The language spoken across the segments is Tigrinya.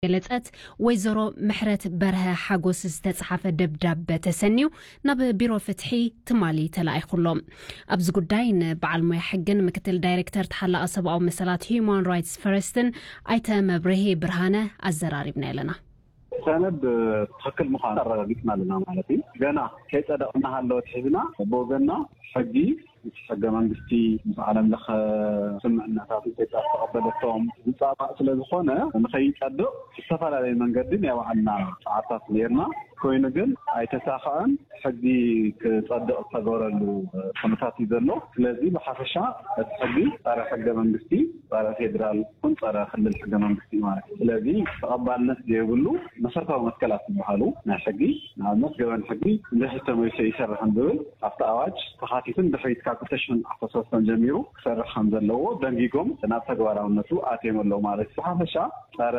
ገለጸት ወይዘሮ ምሕረት በርሀ ሓጎስ ዝተጻሓፈ ደብዳበ ተሰንዩ ናብ ቢሮ ፍትሒ ትማሊ ተላኢኹ ኣሎ። ኣብዚ ጉዳይ ንበዓል ሞያ ሕግን ምክትል ዳይሬክተር ተሓላቒ ሰብኣዊ መሰላት ሂዩማን ራይትስ ፈረስትን ኣይተ መብርሂ ብርሃነ ኣዘራሪብና ኣለና። ሰነድ ትኽክል ምዃኑ ኣረጋጊጽና ኣለና ማለት እዩ። ገና ከይጸደቐ እናሃለወ ኣትሒዝና ብወገንና ሕጊ፣ ምስ ሕገ መንግስቲ፣ ምስ ዓለም ለኸ ስምምዕነታት ኢትዮጵያ ዝተቐበለቶም ዝጻባእ ስለ ዝኾነ፣ ንኸይጸድቕ ዝተፈላለየ መንገዲ ናይ ባዕልና ጻዕርታት ነይርና። ኮይኑ ግን ኣይተሳኸዐን። ሕጊ ክጸድቕ ዝተገበረሉ ኩነታት እዩ ዘሎ። ስለዚ ብሓፈሻ እቲ ሕጊ ጸረ ሕገ መንግስቲ፣ ጸረ ፌዴራል ይኹን ጸረ ክልል ሕገ መንግስቲ እዩ ማለት እዩ። ስለዚ ተቐባልነት ዘይብሉ መሰረታዊ መትከላት ዝበሃሉ ናይ ሕጊ፣ ንኣብነት ገበን ሕጊ እንድሕር ተመሊሱ ይሰርሕን ዝብል ኣብቲ ኣዋጅ ተኻቲቱን ድሕሪት ካብ ክልተ ሽሕን ዓሰርተ ሰለስተን ጀሚሩ ክሰርሕ ከም ዘለዎ ደንጊጎም ናብ ተግባራውነቱ ኣትዮም ኣለዉ ማለት እዩ። ብሓፈሻ ጸረ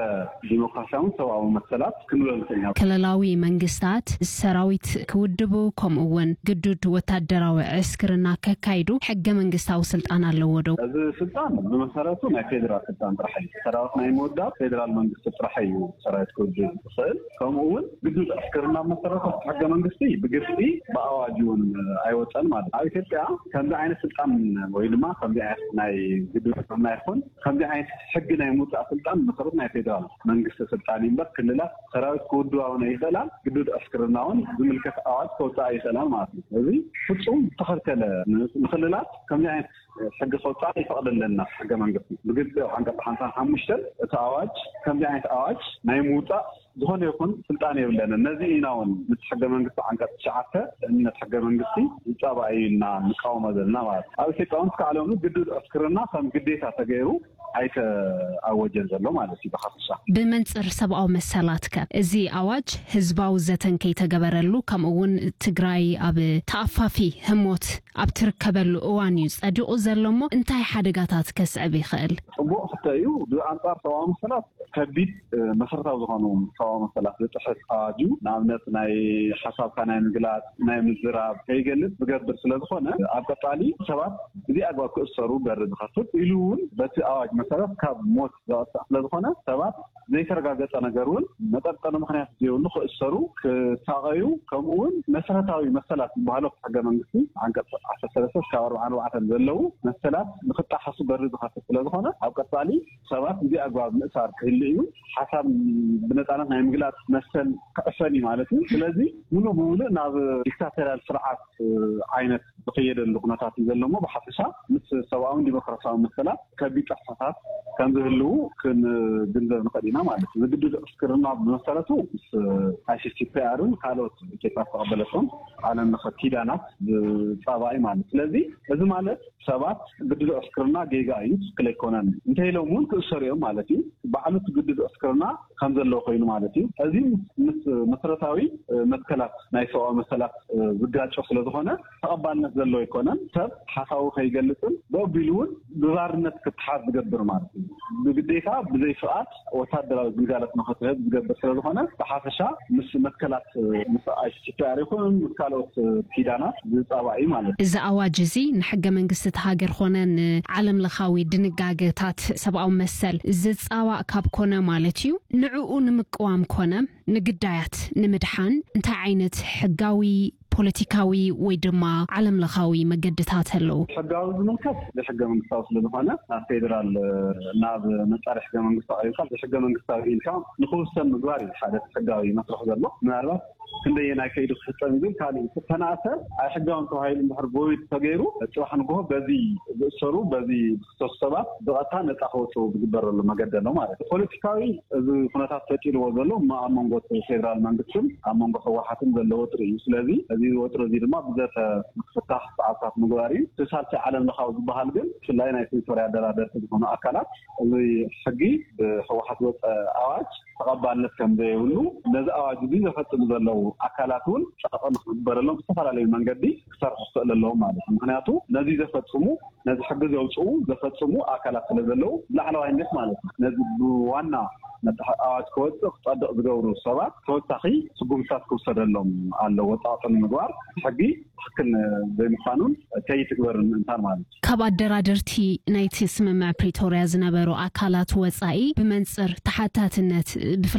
ዲሞክራሲያውን ሰብኣዊ መሰላት ክንብሎ ንኽእል ኢና። ክልላዊ መንግስታት ሰራዊት ክውድቡ፣ ከምኡ እውን ግዱድ ወታደራዊ ዕስክርና ከካይዱ ሕገ መንግስታዊ ስልጣን ኣለዎ ዶ? እዚ ስልጣን ብመሰረቱ ናይ ፌዴራል ስልጣን ጥራሕ እዩ። ሰራዊት ናይ ምውዳብ ፌዴራል መንግስቲ ጥራሕ እዩ ሰራዊት ክውድብ ዝኽእል። ከምኡ እውን ግዱድ ዕስክርና ብመሰረቱ ሕገ መንግስቲ ብግልፂ ብኣዋጅ እውን ኣይወፀን ማለት እዩ። ኣብ ኢትዮጵያ ከምዚ ዓይነት ስልጣን ወይ ድማ ከምዚ ዓይነት ናይ ግዱድ ዕስክርና ይኹን ከምዚ ዓይነት ሕጊ ናይ ምውፃእ ስልጣን ብመሰረቱ ናይ ፌዴራል መንግስቲ ስልጣን እዩ እምበር ክልላት ሰራዊት ክውድባ እውን ኣይኽእላን። ግዱድ ዕስክርና እውን ዝምልከት ኣዋጅ ከውፅኣ ኣይኽእላን ማለት እዩ። እዚ ፍፁም ዝተኸልከለ፣ ንክልላት ከምዚ ዓይነት ሕጊ ከውፅኣ ይፈቕደለና ሕገ መንግስቲ። ብግልፂ ኣብ ዓንቀፅ ሓምሳን ሓሙሽተን እቲ ኣዋጅ ከምዚ ዓይነት ኣዋጅ ናይ ምውፃእ ዝኾነ ይኹን ስልጣን የብለንን። ነዚ ኢና እውን ምስ ሕገ መንግስቲ ዓንቀፅ ትሽዓተ ንእምነት ሕገ መንግስቲ ዝፃባእ እዩ ኢልና ንቃወሞ ዘለና ማለት እዩ። ኣብ ኢትዮጵያ እውን እስካዕ ሎሚ ግዱድ ዕስክርና ከም ግዴታ ተገይሩ ኣይተኣወጀን ዘሎ ማለት እዩ። ብሓፈሻ ብመንጽር ሰብኣዊ መሰላት ከ እዚ ኣዋጅ ህዝባዊ ዘተን ከይተገበረሉ፣ ከምኡ እውን ትግራይ ኣብ ተኣፋፊ ህሞት ኣብ ትርከበሉ እዋን እዩ ጸዲቑ ዘሎ እሞ፣ እንታይ ሓደጋታት ከስዕብ ይኽእል? ጽቡቕ ክልተ እዩ። ብኣንጻር ሰብኣዊ መሰላት ከቢድ፣ እ፣ መሰረታዊ ዝኾኑ ሰብኣዊ መሰላት ዝጥሕስ ኣዋጅ እዩ። ንኣብነት ናይ ሓሳብካ ናይ ምግላጽ፣ ናይ ምዝራብ ከይገልጽ ዝገብር ስለ ዝኾነ፣ ኣብ ቀጻሊ ሰባት ብዘይ ኣግባብ ክእሰሩ በር ዝኸፍት ኢሉ እውን በቲ ኣዋጅ መሰረት ካብ ሞት ዘቐጽዕ ስለ ዝኾነ ሰባት ዘይተረጋገጸ ነገር እውን መጠርጠሪ ምኽንያት ዘይብሉ ክእሰሩ፣ ክሳቐዩ፣ ከምኡ እውን መሰረታዊ መሰላት ዝበሃሉ ሕገ መንግስቲ ዓንቀጽ ዓሰርተ ሰለስተ እስካብ ኣርባዓን ኣርባዕተን ዘለዉ መሰላት ንክጣሓሱ በር ዝኸፍት ስለ ዝኾነ ኣብ ቀጻሊ ሰባት ብዘይ ኣግባብ ምእሳር ክህሉ እዩ። ሓሳብ ብነጻነት ናይ ምግላጽ መሰል ክዕፈን እዩ ማለት እዩ። ስለዚ ሙሉእ ብሙሉእ ናብ ዲክታቶርያል ስርዓት ዓይነት ዝኸየደሉ ኩነታት እዩ ዘሎ እሞ ብሓፈሻ ምስ ሰብኣውን ዲሞክራሲያዊ መሰላት ከቢድ ጥሕሰታት ከም ዝህልዉ ክንግንዘብ ንኽእል ኢና ማለት እዩ። እዚ ግዱድ ዕስክርና ብመሰረቱ ምስ ኣይሲሲፒኣርን ካልኦት ኢትዮጵያ ዝተቐበለቶም ዓለም ለኸ ኪዳናት ዝፃባእ እዩ ማለት። ስለዚ እዚ ማለት ሰባት ግዱድ ዕስክርና ጌጋ እዩ፣ ትክክል ኣይኮነን እንተኢሎም እውን ክእሰሩ እዮም ማለት እዩ። ባዕሉ እቲ ግዱድ ዕስክርና ከም ዘለዎ ኮይኑ ማለት እዩ። እዚ ምስ መሰረታዊ፣ እ፣ መትከላት ናይ ሰብኣዊ መሰላት፣ እ፣ ዝጋጮ ስለ ዝኾነ ተቐባልነት ዘለዎ ኣይኮነን። ሰብ ሓሳቡ ከይገልጽን ብኣቢሉ እውን ብባርነት ክተሓዝ ዝገብር ማለት እዩ። ብግዴታ ብዘይ ፍቓድ ወታደራዊ ግልጋሎት ንኽትህብ ዝገብር ስለ ዝኾነ ብሓፈሻ ምስ መትከላት፣ እ፣ ምስ ኣይሲሲፒኣር ይኹን ምስ ካልኦት፣ እ፣ ኪዳናት ዝጻባእ እዩ ማለት እዩ። እዚ ኣዋጅ እዚ ንሕገ መንግስቲ እቲ ሃገር ኮነ ንዓለም ለኻዊ ድንጋገታት ሰብኣዊ መሰል ዝጻባእ ካብ ኮነ ማለት እዩ፣ ንዕኡ ንምቅዋም ኮነ ንግዳያት ንምድሓን እንታይ ዓይነት ሕጋዊ፣ ፖለቲካዊ ወይ ድማ ዓለም ለኻዊ መገድታት ኣለዉ? ሕጋዊ ዝምልከት ብሕገ መንግስታዊ ስለ ዝኾነ ናብ ፌዴራል፣ ናብ መጻሪ ሕገ መንግስቲ ኣቕሪብካ ብሕገ መንግስታዊ ኢልካ ንክውሰን ምግባር እዩ ሓደ ሕጋዊ መስርሕ ዘሎ። ምናልባት ክንደየናይ ከይዱ ክፍጸም ይብል ካልእ እዩ። ተናእሰ ኣይሕጋውን ተባሂሉ እንድሕር ቮይድ ተገይሩ ጽባሕ ንግሆ በዚ ዝእሰሩ በዚ ዝኽሰሱ ሰባት ብቐጥታ ነጻ ክወፅኡ ዝግበረሉ መገዲ ኣሎ ማለት እዩ። ፖለቲካዊ እዚ ኩነታት ፈጢርዎ ዘሎ እሞ ኣብ መንጎ እቲ ፌዴራል መንግስትን ኣብ መንጎ ህወሓትን ዘሎ ወጥሪ እዩ። ስለዚ እዚ ወጥሪ እዚ ድማ ብዘተ ክፍታሕ ፃዕርታት ምግባር እዩ። እቲ ሳልሳይ ዓለም ለኻዊ ዝበሃል ግን ብፍላይ ናይ ፕሪቶርያ ኣደራደርቲ ዝኾኑ ኣካላት እዚ ሕጊ ብህወሓት ዝወፀ ኣዋጅ ተቐባልነት ከም ዘይብሉ ነዚ ኣዋጅ እዚ ዘፈፅሙ ዘለዉ ኣካላት እውን ፀቕጢ ንክግበረሎም ብዝተፈላለዩ መንገዲ ክሰርሑ ክኽእል ኣለዎም ማለት እዩ። ምክንያቱ ነዚ ዘፈፅሙ ነዚ ሕጊ ዘውፅኡ ዘፈፅሙ ኣካላት ስለ ዘለዉ ብላዕለዋይነት ማለት እዩ ነዚ ብዋና መጣሕ ኣዋጅ ክወፅእ ክፀድቕ ዝገብሩ ሰባት ተወሳኺ ስጉምትታት ክውሰደሎም ኣለዎ። ፃቕጢ ንምግባር ሕጊ ትኽክል ዘይምዃኑን ከይትግበርን ምእንታን ማለት እዩ። ካብ ኣደራደርቲ ናይቲ ስምምዕ ፕሪቶርያ ዝነበሩ ኣካላት ወፃኢ ብመንፅር ተሓታትነት ብፍላይ